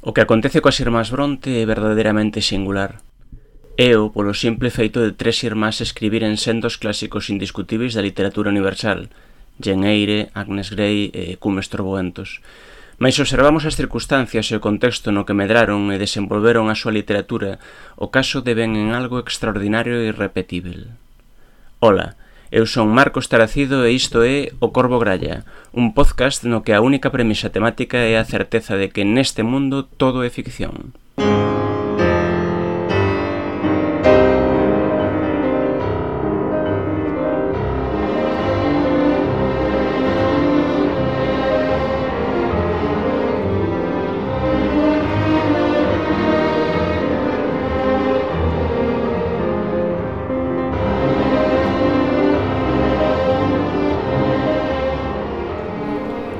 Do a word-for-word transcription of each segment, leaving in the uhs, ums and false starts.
O que acontece coas irmás Bronte é verdadeiramente singular. É o polo simple feito de tres irmás escribiren sendos clásicos indiscutíveis da literatura universal, Jane Eyre, Agnes Grey e Cumes Torboentos. Mais observamos as circunstancias e o contexto no que medraron e desenvolveron a súa literatura, o caso deben en algo extraordinario e irrepetível. Ola, eu son Marcos Taracido e isto é O Corvo Gralla, un podcast no que a única premisa temática é a certeza de que neste mundo todo é ficción.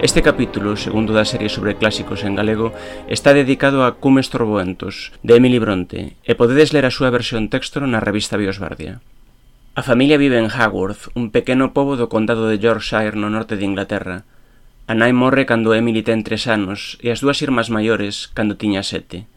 Este capítulo, segundo da serie sobre clásicos en galego, está dedicado a Cumes Torboentos, de Emily Bronte, e podedes ler a súa versión texto na revista Biosbardia. A familia vive en Haworth, un pequeno pobo do condado de Yorkshire no norte de Inglaterra. A nai morre cando Emily ten tres anos e as dúas irmás maiores cando tiña sete.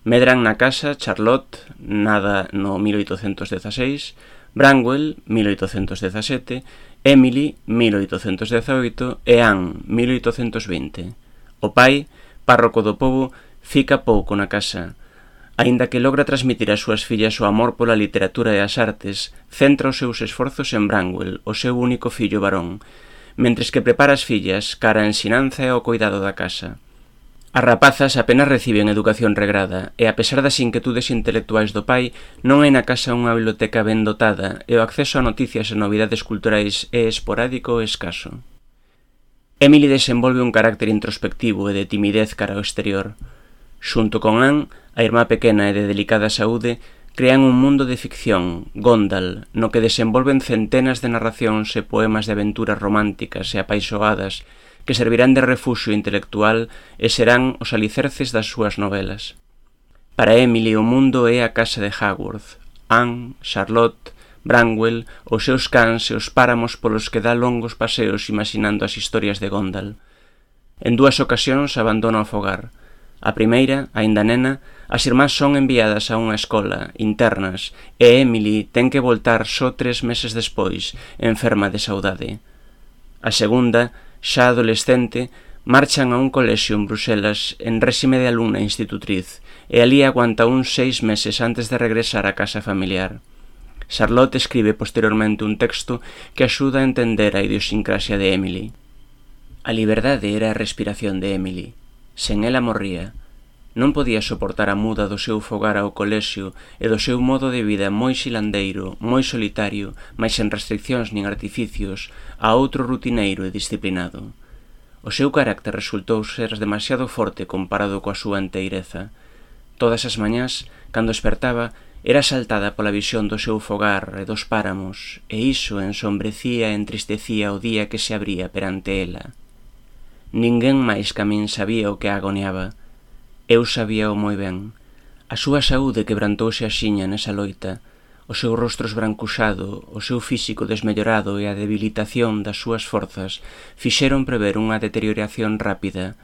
Medran na casa Charlotte, nada no mil oitocentos dezaseis, Branwell, mil oitocentos dezasete, Emily, mil oitocentos dezaoito e Anne, mil oitocentos vinte. O pai, párroco do pobo, fica pouco na casa. Aínda que logra transmitir ás súas fillas o amor pola literatura e as artes, centra os seus esforzos en Branwell, o seu único fillo varón, mentres que prepara as fillas cara a ensinanza e ao cuidado da casa. As rapazas apenas reciben educación regrada e, a pesar das inquietudes intelectuais do pai, non hai na casa unha biblioteca ben dotada e o acceso a noticias e novidades culturais é esporádico e escaso. Emily desenvolve un carácter introspectivo e de timidez cara ao exterior. Xunto con Anne, a irmá pequena e de delicada saúde, crean un mundo de ficción, Gondal, no que desenvolven centenas de narracións e poemas de aventuras románticas e apaixoadas que servirán de refuxio intelectual e serán os alicerces das súas novelas. Para Emily o mundo é a casa de Haworth, Anne, Charlotte, Branwell, os seus cans e os páramos polos que dá longos paseos imaginando as historias de Gondal. En dúas ocasións abandona o fogar. A primeira, aínda nena, as irmás son enviadas a unha escola, internas, e Emily ten que voltar só tres meses despois, enferma de saudade. A segunda, xa adolescente, marchan a un colexio en Bruxelas en réxime de alumna institutriz e alí aguanta uns seis meses antes de regresar á casa familiar. Charlotte escribe posteriormente un texto que axuda a entender a idiosincrasia de Emily. A liberdade era a respiración de Emily. Sen ela morría. Non podía soportar a muda do seu fogar ao colexio e do seu modo de vida moi xilandeiro, moi solitario, mais sen restriccións nin artificios, a outro rutineiro e disciplinado. O seu carácter resultou ser demasiado forte comparado coa súa enteireza. Todas as mañás, cando espertaba, era asaltada pola visión do seu fogar e dos páramos, e iso ensombrecía e entristecía o día que se abría perante ela. Ninguén máis que a min sabía o que a agoniaba. Eu sabíao moi ben. A súa saúde quebrantouse axiña nesa loita, o seu rostro esbrancuxado, o seu físico desmellorado e a debilitación das súas forzas fixeron prever unha deterioración rápida.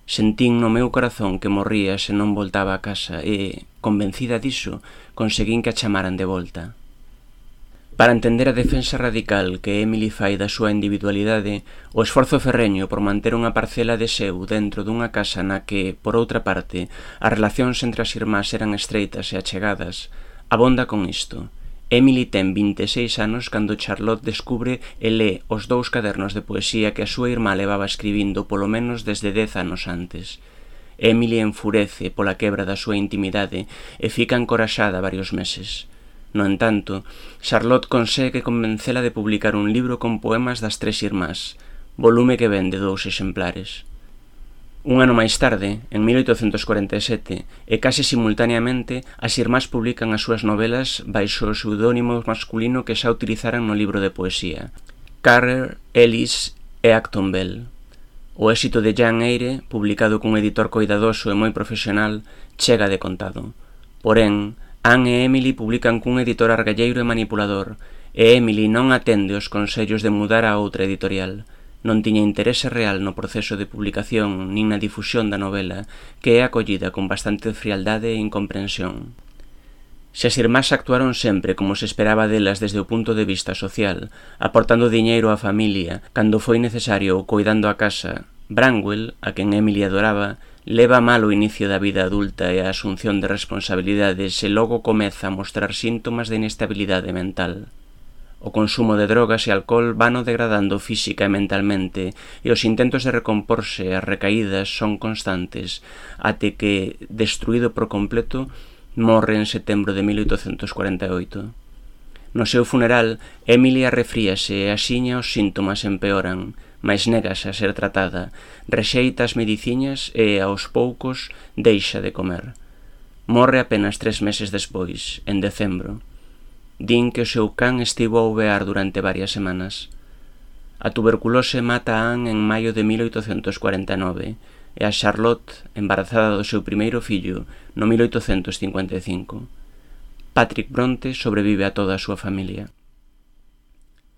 Sentín no meu corazón que morría se non voltaba a casa e, convencida diso, conseguín que a chamaran de volta. Para entender a defensa radical que Emily fai da súa individualidade, o esforzo ferreño por manter unha parcela de seu dentro dunha casa na que, por outra parte, as relacións entre as irmás eran estreitas e achegadas, abonda con isto. Emily ten vinte e seis anos cando Charlotte descubre e lé os dous cadernos de poesía que a súa irmá levaba escribindo polo menos desde dez anos antes. Emily enfurece pola quebra da súa intimidade e fica encoraxada varios meses. No entanto, Charlotte consegue convencela de publicar un libro con poemas das tres irmás, volume que vende dous exemplares. Un ano máis tarde, en mil oitocentos corenta e sete, e case simultaneamente, as irmás publican as súas novelas baixo o pseudónimo masculino que xa utilizaran no libro de poesía, Carrer, Ellis e Acton Bell. O éxito de Jane Eyre, publicado cun editor coidadoso e moi profesional, chega de contado. Porén, Anne e Emily publican cun editor argalleiro e manipulador, e Emily non atende os consellos de mudar a outra editorial. non tiña interese real no proceso de publicación nin na difusión da novela, que é acollida con bastante frialdade e incomprensión. Se as irmás actuaron sempre como se esperaba delas desde o punto de vista social, aportando diñeiro á familia cando foi necesario ou coidando a casa, Branwell, a quen Emily adoraba, leva mal o inicio da vida adulta e a asunción de responsabilidades e logo comeza a mostrar síntomas de inestabilidade mental. O consumo de drogas e alcohol vano degradando física e mentalmente e os intentos de recomporse e as recaídas son constantes, até que, destruído por completo, morre en setembro de mil oitocentos cuarenta e oito. No seu funeral, Emily arrefríase e axiña os síntomas empeoran, mais negase a ser tratada, rexeita as mediciñas e, aos poucos, deixa de comer. Morre apenas tres meses despois, en decembro. Din que o seu can estivo a ouvear durante varias semanas. A tuberculose mata a Anne en maio de mil oitocentos cuarenta e nove e a Charlotte, embarazada do seu primeiro fillo, no mil oitocentos cincuenta e cinco. Patrick Bronte sobrevive a toda a súa familia.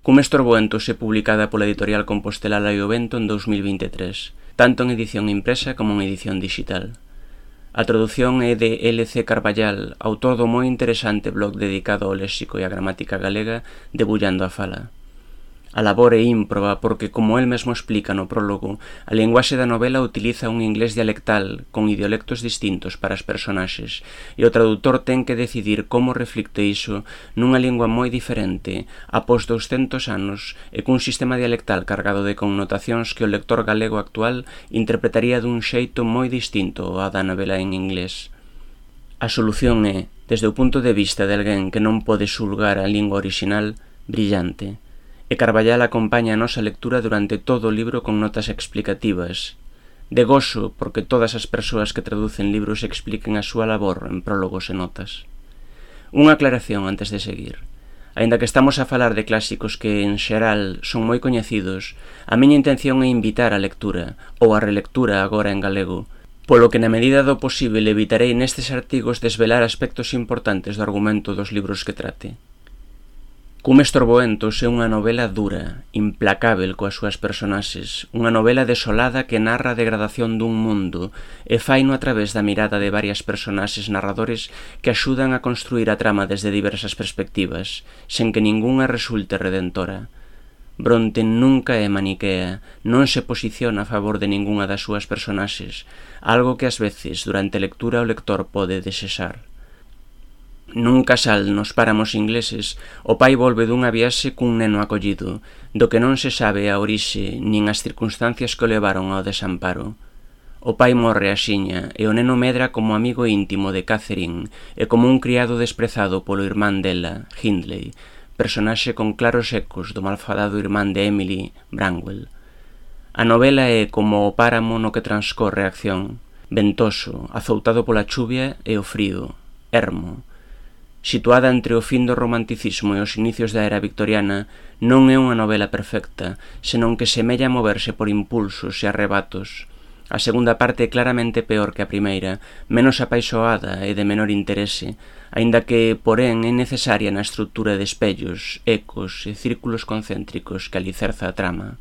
Cumes Torboentos é publicada pola editorial Compostelala e o Vento en dous mil vinte e tres, tanto en edición impresa como en edición digital. A tradución é de L C Carballal, autor do moi interesante blog dedicado ao léxico e á gramática galega Debullando a Fala. A labor é ímproba porque, como el mesmo explica no prólogo, a linguaxe da novela utiliza un inglés dialectal con idiolectos distintos para as personaxes e o tradutor ten que decidir como reflicte iso nunha lingua moi diferente após douscentos anos e cun sistema dialectal cargado de connotacións que o lector galego actual interpretaría dun xeito moi distinto ao da novela en inglés. A solución é, desde o punto de vista de alguén que non pode xulgar a lingua orixinal, brillante. E Carballal acompaña a nosa lectura durante todo o libro con notas explicativas. De gozo porque todas as persoas que traducen libros expliquen a súa labor en prólogos e notas. Unha aclaración antes de seguir. Aínda que estamos a falar de clásicos que, en xeral, son moi coñecidos, a miña intención é invitar a lectura, ou a relectura agora en galego, polo que na medida do posible evitarei nestes artigos desvelar aspectos importantes do argumento dos libros que trate. Cumes Torboentos é unha novela dura, implacável coas súas personaxes, unha novela desolada que narra a degradación dun mundo e faino a través da mirada de varias personaxes narradores que axudan a construir a trama desde diversas perspectivas, sen que ningunha resulte redentora. Bronte nunca é maniquea, non se posiciona a favor de ningunha das súas personaxes, algo que ás veces durante a lectura o lector pode desexar. Nun casal nos páramos ingleses, o pai volve dunha viaxe cun neno acollido, do que non se sabe a orixe nin as circunstancias que o levaron ao desamparo. O pai morre axiña e o neno medra como amigo íntimo de Catherine e como un criado desprezado polo irmán dela, Hindley, personaxe con claros ecos do malfadado irmán de Emily, Branwell. A novela é como o páramo no que transcorre a acción, ventoso, azoutado pola chuvia e o frío, ermo. Situada entre o fin do romanticismo e os inicios da era victoriana, non é unha novela perfecta, senón que semella moverse por impulsos e arrebatos. A segunda parte é claramente peor que a primeira, menos apaixoada e de menor interese, aínda que, porén, é necesaria na estrutura de espellos, ecos e círculos concéntricos que alicerza a trama.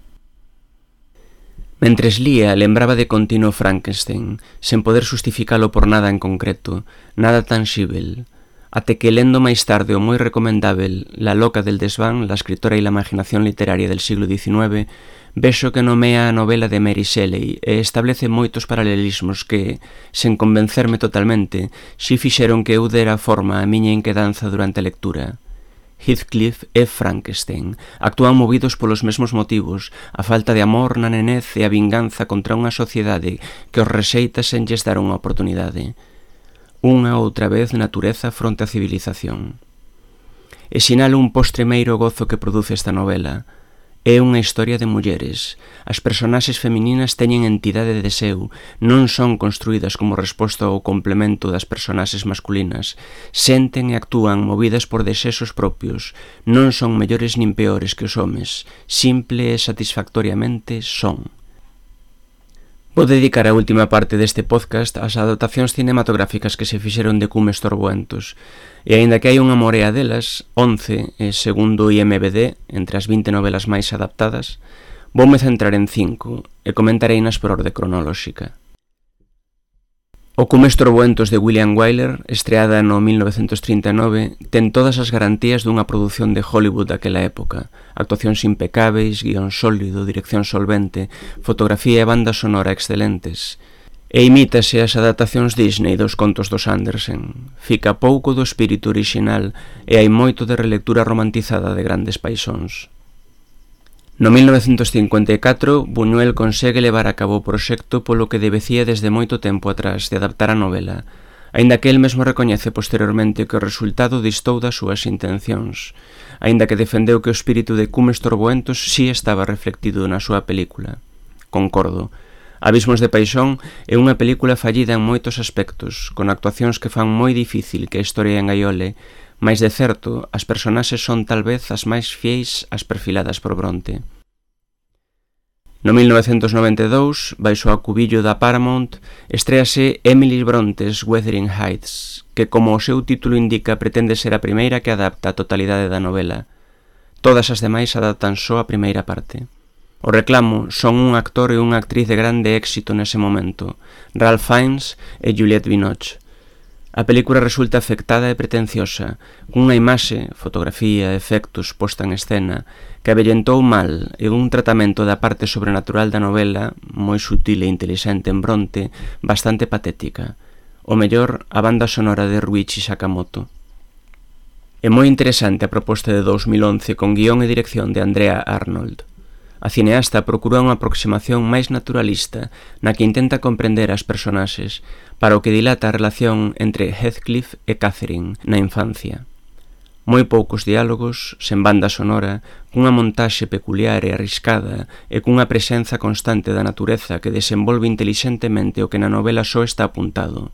Mentres lía, lembraba de continuo Frankenstein, sen poder justificalo por nada en concreto, nada tanxível, até que lendo máis tarde o moi recomendável La loca del desván, la escritora e la imaginación literaria del siglo diecinueve, vexo que nomea a novela de Mary Shelley e establece moitos paralelismos que, sen convencerme totalmente, si fixeron que eu dera forma a miña inquedanza durante a lectura. Heathcliff e Frankenstein actúan movidos polos mesmos motivos, a falta de amor na nenez e a vinganza contra unha sociedade que os rexeita sen lles dar unha oportunidade. Unha outra vez natureza fronte á civilización. E sinalo un postremeiro gozo que produce esta novela. É unha historia de mulleres. As personaxes femininas teñen entidade de deseo, non son construídas como resposta ao complemento das personaxes masculinas. Senten e actúan movidas por desexos propios. Non son mellores nin peores que os homes. Simple e satisfactoriamente son. Vou dedicar a última parte deste podcast ás adaptacións cinematográficas que se fixeron de Cumes Torboentos, e aínda que hai unha morea delas, once, e segundo o I M D B, entre as vinte novelas máis adaptadas, Voume centrar en cinco e comentareinas por orde cronolóxica. O Como Estorboentos de William Wyler, estreada no mil novecentos trinta e nove, ten todas as garantías dunha produción de Hollywood daquela época. Actuacións impecáveis, guión sólido, dirección solvente, fotografía e banda sonora excelentes. E imítase as adaptacións Disney dos contos dos Andersen. Fica pouco do espírito orixinal e hai moito de relectura romantizada de grandes paixóns. No mil novecentos cincuenta e catro, Buñuel consegue levar a cabo o proxecto polo que debecía desde moito tempo atrás de adaptar a novela, aínda que el mesmo recoñece posteriormente que o resultado distou das súas intencións, aínda que defendeu que o espírito de Como Estorboentos si estaba reflectido na súa película. Concordo. Abismos de Paixón é unha película fallida en moitos aspectos, con actuacións que fan moi difícil que a historia engaiole, mais de certo, as personaxes son tal vez as máis fieis as perfiladas por Bronte. No mil novecentos noventa e dous, baixo o acubillo da Paramount, estréase Emily Bronte's Wuthering Heights, que, como o seu título indica, pretende ser a primeira que adapta a totalidade da novela. Todas as demais adaptan só a primeira parte. O reclamo son un actor e unha actriz de grande éxito nese momento, Ralph Fiennes e Juliette Binoche. A película resulta afectada e pretenciosa, cunha imaxe, fotografía, efectos, posta en escena, que avellentou mal e un tratamento da parte sobrenatural da novela, moi sutil e intelixente en Bronte, bastante patética. O mellor, a banda sonora de Ryuichi Sakamoto. É moi interesante a proposta de dous mil once con guión e dirección de Andrea Arnold. A cineasta procura unha aproximación máis naturalista na que intenta comprender as personaxes, para o que dilata a relación entre Heathcliff e Catherine na infancia. Moi poucos diálogos, sen banda sonora, cunha montaxe peculiar e arriscada e cunha presenza constante da natureza que desenvolve intelixentemente o que na novela só está apuntado.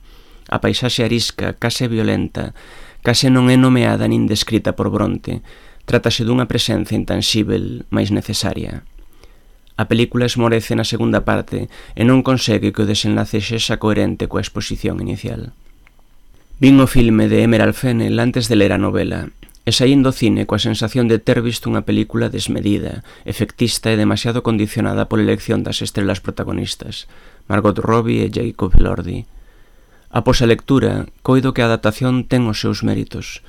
A paisaxe arisca, case violenta, case non é nomeada nin descrita por Bronte. Trátase dunha presenza intanxíbel, mais necesaria. A película esmorece na segunda parte e non consegue que o desenlace sexa coherente coa exposición inicial. Vin o filme de Emerald Fennell antes de ler a novela e saín do cine coa sensación de ter visto unha película desmedida, efectista e demasiado condicionada pola elección das estrelas protagonistas, Margot Robbie e Jacob Elordi. Após a lectura, coido que a adaptación ten os seus méritos.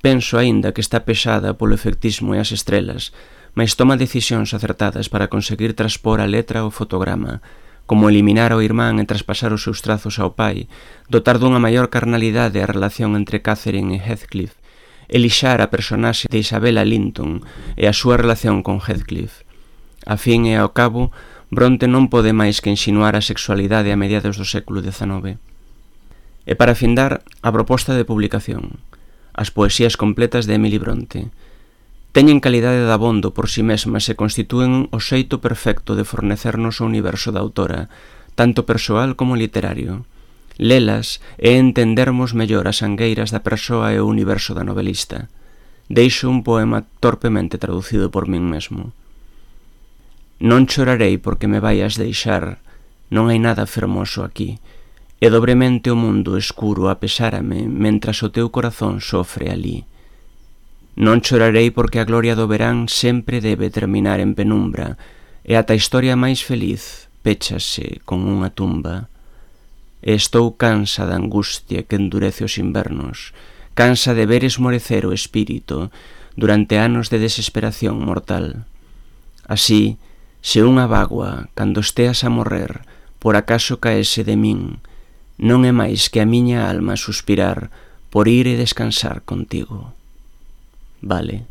Penso aínda que está pesada polo efectismo e as estrelas, mais toma decisións acertadas para conseguir transpor a letra ao fotograma, como eliminar ao irmán e traspasar os seus trazos ao pai, dotar dunha maior carnalidade a relación entre Catherine e Heathcliff, elixar a personaxe de Isabella Linton e a súa relación con Heathcliff. A fin e ao cabo, Bronte non pode máis que insinuar a sexualidade a mediados do século dezanove. E para findar, a proposta de publicación, as poesías completas de Emily Bronte. Teñen calidade de abondo por si mesmas e constitúen o xeito perfecto de fornecernos o universo da autora, tanto persoal como literario. Lelas é entendermos mellor as angueiras da persoa e o universo da novelista. Deixo un poema torpemente traducido por min mesmo. Non chorarei porque me vaias deixar, non hai nada fermoso aquí, e dobremente o mundo escuro apesárame mentras o teu corazón sofre alí. Non chorarei porque a gloria do verán sempre debe terminar en penumbra e ata a historia máis feliz péchase con unha tumba. E estou cansa da angustia que endurece os invernos, cansa de ver esmorecer o espírito durante anos de desesperación mortal. Así, se unha bagua, cando esteas a morrer, por acaso caese de min, non é máis que a miña alma suspirar por ir e descansar contigo. Vale.